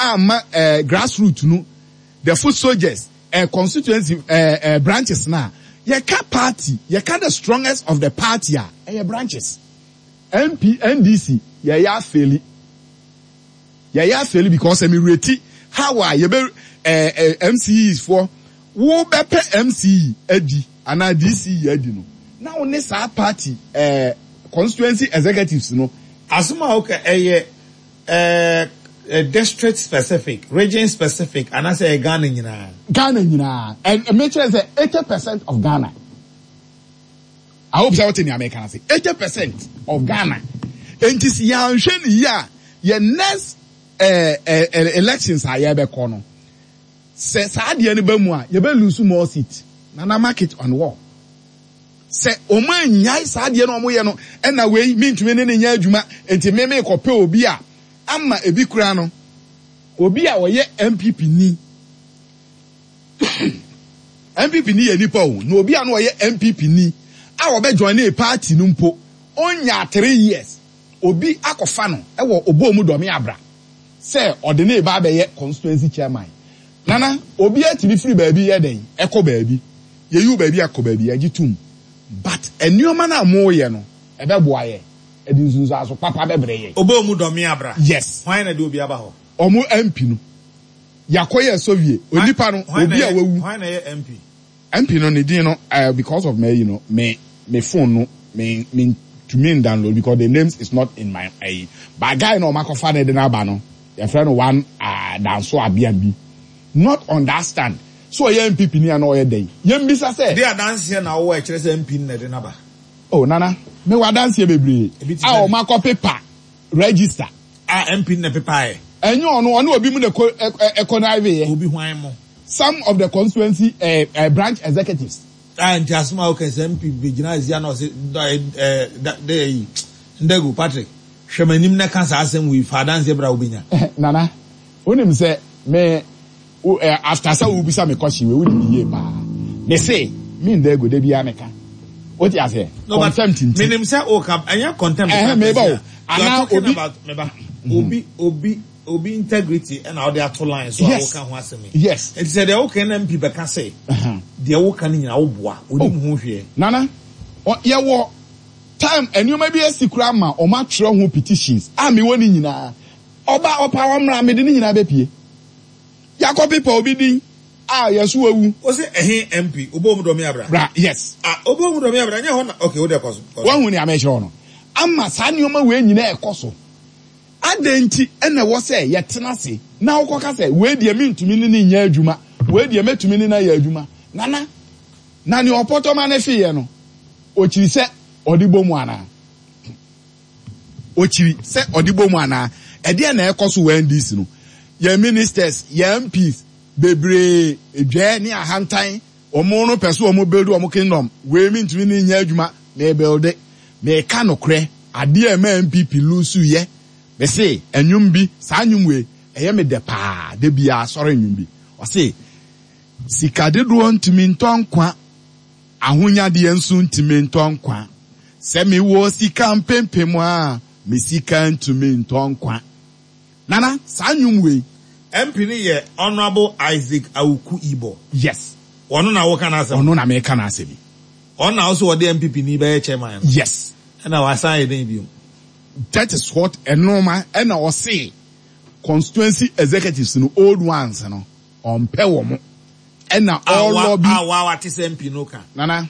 amma grassroot no, the foot soldiers, constituency branches na yɛka party, yɛka the strongest of the party a, ɛyɛ branches. MP, NDC, yɛyɛ afail, yɛyɛ afail because ɛmi reti how a yɛbɛ MCEs foɔ wo bɛpɛ MCE adi anaa DCE adi no na wo ne saa party constituency executives no. Asɛm a woka ɛyɛ district specific, region specific, anaasɛ ɛyɛ Ghana nyinaa? Ghana nyinaa, and mekyerɛ sɛ 80% of Ghana. I hope sɛ wote nea meka no ase. 80% of Ghana. Enti sɛ yɛanhwɛ no yie a, yɛ next elections a yɛbɛkɔ no, sɛ saa adeɛ no ba mu a, yɛbɛ lose more seat. Nana, mark it on wall. Sɛ wɔn anyae saa adeɛ no a wɔyɛ no, ɛna wei mentumi ne ne nyɛ adwuma, nti me mekɔpɛ obi a ama ebi koraa no, obi a ɔyɛ NPP ni. NPP ni yɛ nipa o, na obi a na ɔyɛ NPP ni a ɔbɛ join ne party no mpo, ɔnya 3 years, obi akɔfa no ɛwɔ ɔbɔ mu dɔme abra sɛ ɔde ne ba abɛyɛ constituency chairman. Nana, obi atumi firi baabi yɛ dɛn ɛkɔ baabi, yɛyi baabi akɔ baabi, yɛgye tum, but nneɛma no a moyɛ no, ɛbɛboa yɛ, ɛde nsunsuanso papa bɛbrɛ yɛ? Ɔbɔ mu dɔme abra? Yes. Hwan na de obi aba hɔ? Ɔmo MP no, yakɔyɛ survey, onipa no, obi a wawu. Hwan na ɛyɛ MP? MP no ne din no, because of me, me phone no me tumi download because the names is not in my but guy no ɔmo akɔfa ne de n'aba no, yɛfrɛ no one Danso Abia bi, not understand so ɔyɛ NPP ni a na ɔyɛ dɛn, yɛn bisa sɛ. De adanseɛ na wɔwɔ ɛkyerɛ sɛ MP no na ɛde n'aba? Oh Nana, me wɔ adanseɛ bebree Ebi te a sɛ ɔmo akɔ pepa register. A MP no na pepa yɛ? Ɛnyɛ ɔno, ɔne obi mu na ɛkɔ ɛkɔ na yɛ. Obi hwan mo? Some of the constituency branch executives. A nti asɛm a woka sɛ MP bɛgyina azia na ɔse ɛɛ de yi Ndego Patrick, hwɛ m'anim na ka saa asɛm wei, fa adanseɛ bra, wobɛnya. Nana, wonim sɛ me wo after sɛ wobisa me question wei, wonim yie paa, me se me Ndego de bia meka, wote aseɛ? No, but contempt nti. Menim sɛ woka, ɛnyɛ contempt. Meba o. Anaa obi meba obi integrity ɛna wode ato line so a woka ho asɛm yi. Nti sɛ deɛ woka na MP bɛka sɛ deɛ woka no nyina woboa, onim ho hwɛ? Nana, yɛwɔ time, nneɛma bi asi koraa ma ɔmo atwerɛ ho petitions a mewɔ ne nyinaa. Ɔba ɔpa ɔmmra, mede ne nyinaa bɛpie. Yakɔ pepa obi din a yɛso wawu. O sɛ ɛhe MP wobɔ mu dɔme abra? Bra, yes. Ah, wobɔ mu dɔme abra, nyɛ hɔ na, okay, wode kɔ so, kɔ so. Wahu nea mekyerɛ no ama saa nneɛma wei nyinaa ɛkɔ so. Adɛn nti ɛna ɛwɔ sɛ yɛtena ase na wokɔka sɛ wei deɛ mentumi ne ne nyɛ adwuma, wei deɛ mɛtumi ne no ayɛ adwuma? Nana, na nea ɔpɔtɔma ne feyɛ no, ɔkyiri sɛ ɔde bɔ mu anaa? Ɔkyiri sɛ ɔde bɔ mu anaa? Ɛdeɛ na ɛkɔ so wɔ NDC no, yɛn ministers, yɛn MPs bebree, edwɛ ne ahantan, wɔn no pɛ so wɔn build wɔn kingdom. Wei mentumi ne nyɛ adwuma, me build. Meka nokorɛ, adeɛ a ɛma NPP lose yɛ, mese ɛnwom bi, saa nnwom wei ɛyɛ me dɛ paa, de bia asɔre nnwom bi, ɔse sika dodoɔ ntumi ntɔ nkwa, ahonyadeɛ nso ntumi ntɔ nkwa, sɛ mewɔ sika mpempem a, me sika ntumi ntɔ nkwa. Nana, saa nnwom wei. MP no yɛ Honourable Isaac Awuku Ibo? Yes. Ɔno na woka n'asɛm? Ɔno na meka n'asɛm yi. Ɔno na wo ɔde NPP ni bɛyɛ chairman no? Yes. Ɛna wasan yɛ den bio? That is what ɛnoma ɛna ɔse constituency executives no, old ones no, ɔmpɛ wɔn ɛna ɔlobby. A wa wate sɛ MP no ka? Nana,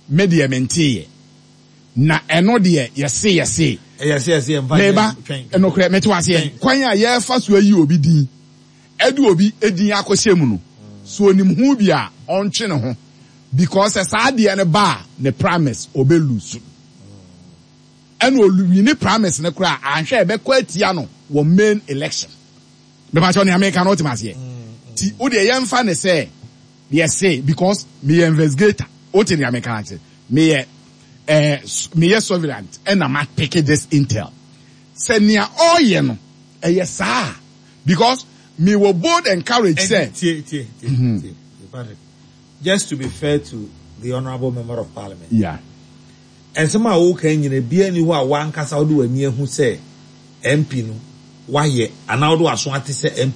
me deɛ menteeɛ na ɛno deɛ yɛse yɛse. Yɛse yɛse mfa. Meba nokorɛ mete waseɛ, kwan a yɛfa so ayi obi din, ɛde obi din akɔhyɛ mu no so, onim ho bi a ɔntwe ne ho because sɛ saa adeɛ no ba a, ne primaries ɔbɛlose, ɛna ɔwin ne primaries no koraa, anhwɛ ɛbɛkɔ atia no wɔ main election. Mepakyɛw, nea meka no wotem aseɛ? Ti wo deɛ yɛmfa ne sɛ yɛse because meyɛ investigator, wote nea meka no akyerɛ, meyɛ surveillant ɛna ma pick this intel sɛ nea ɔreyɛ no ɛyɛ saa because mewɔ bold and courage sɛ. Tie, tie, tie, tie, Patrick, just to be fair to the honourable member of parliament, nsɛm a woka nyina bia ni hɔ a wankasa wode w'ani ahu sɛ MP no wayɛ anaa wode w'aso ate sɛ MP.